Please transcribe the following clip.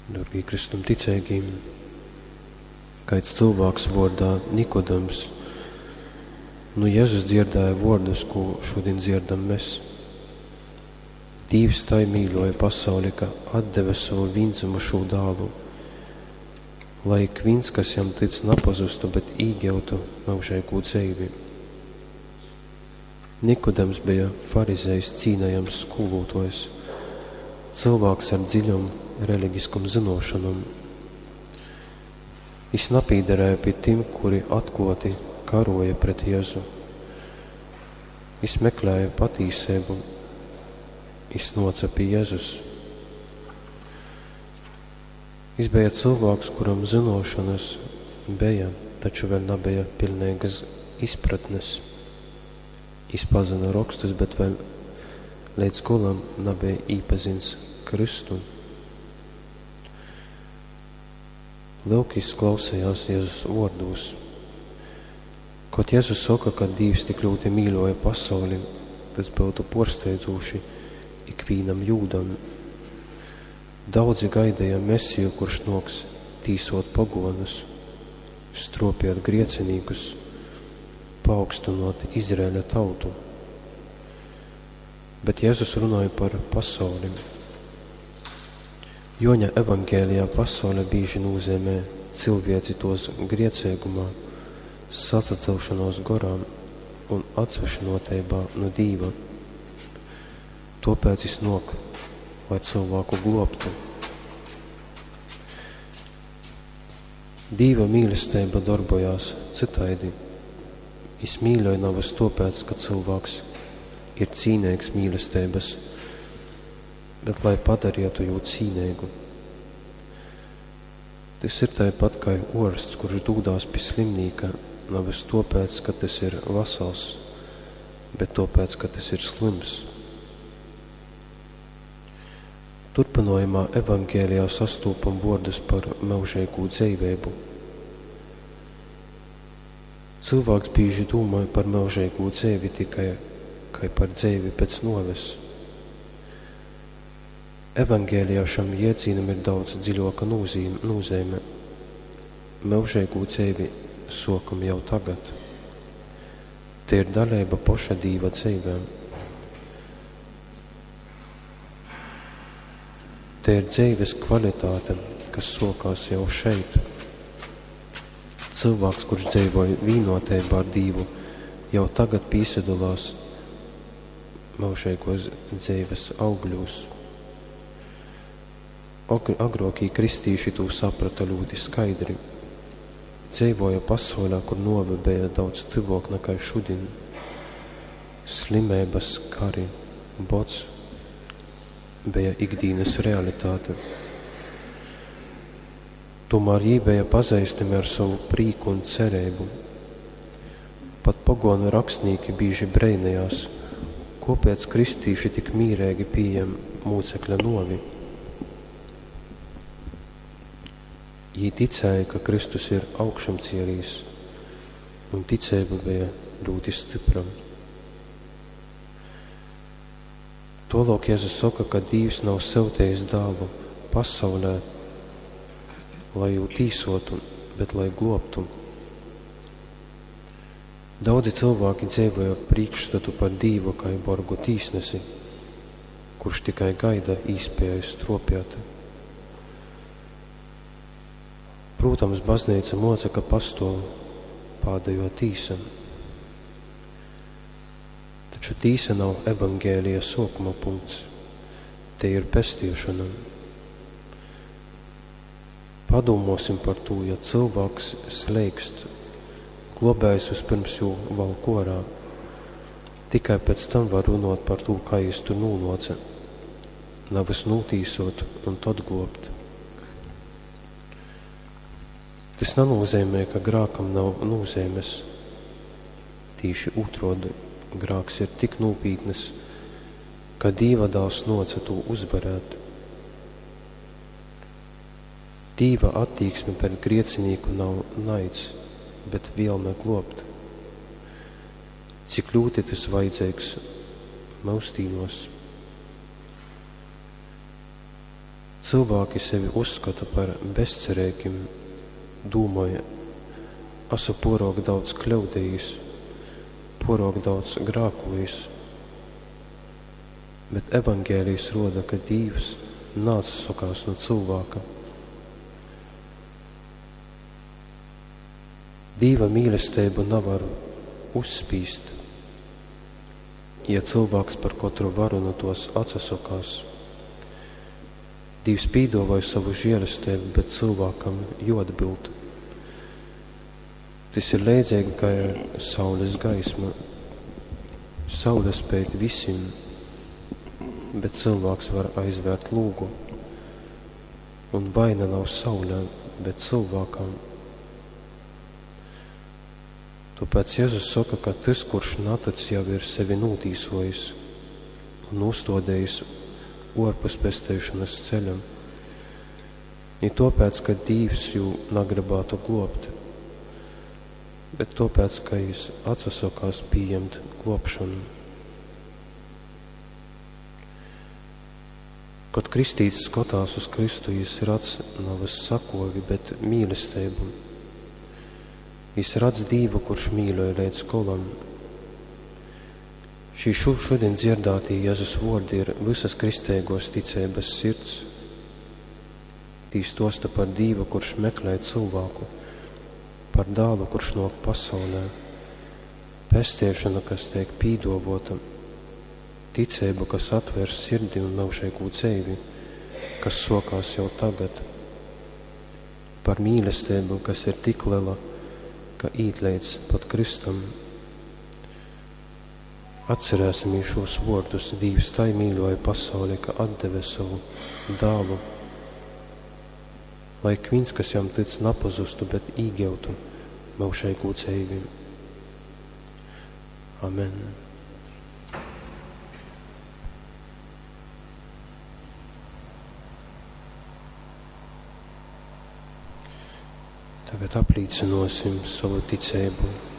Dōrgī Kristum ticeigī, kaids cylvāks vōrdā Nikodems nu Jezus dzierdēja vōrdus, kū šudin dzierdam mes. Dīvs tai mīļōja pasauli, ka atdeve sovu vīndzymušū dālu, lai ikvīns, kas jam tic, napazustu, bet īgyutu myužeigū dzeivi. Nikodems beja farizejs cīnejams skūlōtōjs, cylvāks ar dziļom religiskom zynōšonom. Jis napīderēja pi tim, kuri atklōti karōja pret Jezu. Jis meklēja patīseibu, jis nōce pi Jezus. Jis beja cylvāks, kuram zynōšonas beja, taču vēļ nabeja piļneigas izpratnes. Jis pazyna rokstus, bet vēļ leidz golam nabeja īpazins Kristu. Lyuk, jis klausejās Jezus vōrdūs. Kod Jezus soka, ka Dīvs tik ļūti mīļōja pasauli, tas byutu pōrsteidzūši ikvīnam jūdam. Daudzi gaideja Mesiju, kurš nōks tīsōt pogōnus, strōpiet griecinīkus, paaugstynōt Izraeļa tautu. Bet Jezus runoj par pasauli. Juoņa Evangelijā pasaule bīži nūzeimē cilvieci tuos grieceigumā, sasacelšonuos gorā un atsvešynuoteibā nu Dīva. Tuopēc jis nuok, lai cylvāku gluobtu. Dīva mīlesteiba dorbojās cytaidi. Jis mīļoj navys tuopēc, ka cylvāks ir cīneigs mīlesteibys, bet lai padarietu jū cīneigu. Tys ir taipat kai uorsts, kurš dūdās pi slimnīka navys tuopēc, ka tys ir vasals, bet tuopēc, ka tys ir slyms. Turpynuojumā Evangelijā sastūpam vuordus par myužeigū dzeiveibu. Cylvāks bīži dūmoj par myužeigū dzeivi tikai kai par dzeivi pec nuoves. Evangelijā šam jiedzīnam ir daudz dziļuoka nūzeime. Myužeigū dzeivi suokam jau tagad. Tei ir daleiba poša Dīva dzeivē. Tei ir dzeives kvalitāte, kas suokās jau šeit. Cylvāks, kurš dzeivoj vīnuoteibā ar Dīvu, jau tagad pīsadolās myužeiguos dzeives augļūs. Agrōkī kristīši tū saprota ļūti skaidri. Dzeivōja pasaulē, kur nōve beja daudz tyvōk nakai šudin. Slimeibas, kari, bods beja ikdīnas realitāte. Tūmār jī beja pazeistami ar sovu prīku un cereibu. Pat pogōnu rakstnīki bīži breinejās, kōpēc kristīši tik mīreigi pījem mūcekļa nōvi. Jī ticēja, ka Kristus ir augšamcielīs, un ticeiba beja ļūti stypra. Tuoluok Jezus soka, ka Dīvs nav syutejis dālu pasaulē, lai jū tīsotu, bet lai gluobtu. Daudzi cylvāki dzeivoja prīkšstatu par Dīvu kai borgu tīsnesi, kurš tikai gaida īspēju struopiet. Prūtams, bazneica moca, ka pastuov pādejuo tīsa. Taču tīsa nav evaņgelija suokuma punkts. Tei ir pestiešona. Padūmuosim par tū, ja cylvāks sleikst, globējs vispirms jū valk uorā. Tikai pēc tam var runuot par tū, kai jis tur nūnuoce. Navys nūtīsuot un tod gluobt. Tys nanūzeimej, ka grākam nav nūzeimes. Tīši ūtrōdi, grāks ir tik nūpītnys, ka Dīva Dāls nōce tū uzvarēt. Dīva attīksme pret griecinīku nav naids, bet vielme gluobt. Cik ļūti tys vajadzeigs myusdīnuos. Cylvāki sevi uzskota par bezcereigim, dūmoj, asu puoruok daudz kļaudejīs, puoruok daudz grākuojis. Bet Evangelijs ruoda, ka Dīvs naatsasokās nu cylvāka. Dīva mīlesteibu navar uzspīst, ja cylvāks par kotru varu nu tuos atsasokās. Dīvs pīduovoj sovu žielesteibu, bet cylvākam juoatbild. Tys ir leidzeigi kai saules gaisma. Saule speid vysim, bet cylvāks var aizvērt lūgu. Un vaina nav saulē, bet cylvākam. Tōpēc Jezus soka, ka tys, kurš natyc, jau ir sevi nūtīsojis un nūstōdejis ōrpus pesteišonas ceļa. Ni tōpēc, ka Dīvs jū nagrybātu glōbt, bet tōpēc, ka jys atsasokās pījemt glōbšonu. Kod kristīts skotās uz Kristu, jys radz navys sakovi, bet mīlesteibu. Jys radz Dīvu, kurš mīļoj leidz golam. Šī šodien dzierdātī Jezus vuordi ir visas kristeigos ticeibas sirds. Tī stosta par Dīvu, kurš meklē cylvāku, par dālu, kurš nōk pasaulē, pestiešanu, kas teik pīduovota, ticeibu, kas atver sirdi un myužeigū dzeivi, kas sokās jau tagad, par mīlesteibu, kas ir tik lela, ka īt leidz pat Kristum. Atcerēsimies šos vārdus. Dīvs tai mīļoja pasauli, ka atdeve savu dālu, lai ik viens, kas jam tic, napazustu, bet īgautu myužīgu dzīvi. Amen. Tagad aplīcinosim savu ticību.